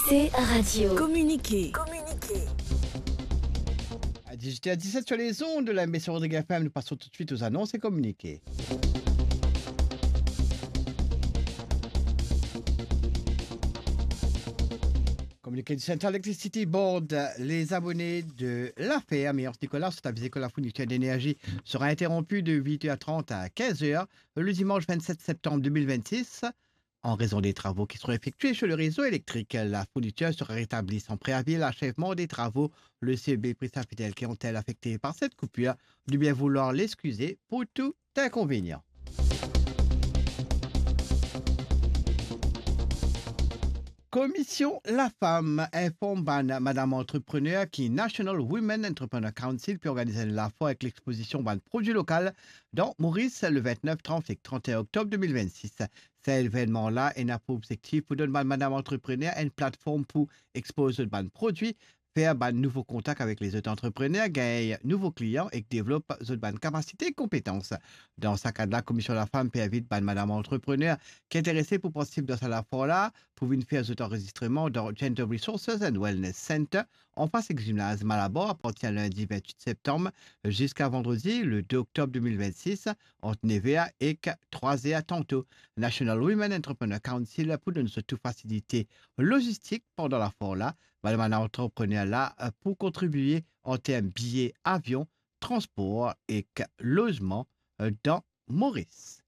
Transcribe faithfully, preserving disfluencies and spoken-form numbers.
T Radio. Communiqué. À dix-huit heures dix-sept sur les ondes de la M B C Rodrigues F M, nous passons tout de suite aux annonces et communiqués. Communiqué du Central Electricity Board, les abonnés de la ferme et Anse Nicolas sont avisés que la fourniture d'énergie sera interrompue de huit heures trente à quinze heures le dimanche vingt-sept septembre deux mille vingt-six. En raison des travaux qui seront effectués sur le réseau électrique, la fourniture sera rétablie sans préavis à l'achèvement des travaux. Le C E B prie sa fidèl ki ontel afekte par cette coupure de bien vouloir l'excuser pour tout inconvénient. Komisyon Lafam inform bann madam antreprener ki National Women Entrepreneur Council pe organiz enn lafor ek lexpozision bann prodwi lokal dan Moris le vintnef, trant ek trant-e-enn oktob de mil vintsis. Sa evennman la ena pou obzektif pou donn bann madam antreprener enn platform pou expoz zot bann prodwi, fer bann nouvo kontak avek lezot antreprener, gagn nouvo klian ek devlop zot bann kapasite ek konpetans. Dan sa kad la, Komisyon Lafam pe invit bann madam antreprener ki interese pou partisip dan sa lafor la pou vinn fer zot anrezistreman dan Gender Resources and Wellness Center, anfas ek zimnaz Malabar, apartir lindi vintwit septam ziska vandredi le de oktob de mil vintsis, ant nev er ek trwa er tanto. National Women Entrepreneur Council pou donn zot tou fasilite lozistik pandan lafor la. Bann madam antreprener la pou kontribie an term biye avion, transpor ek lozman dan Moris.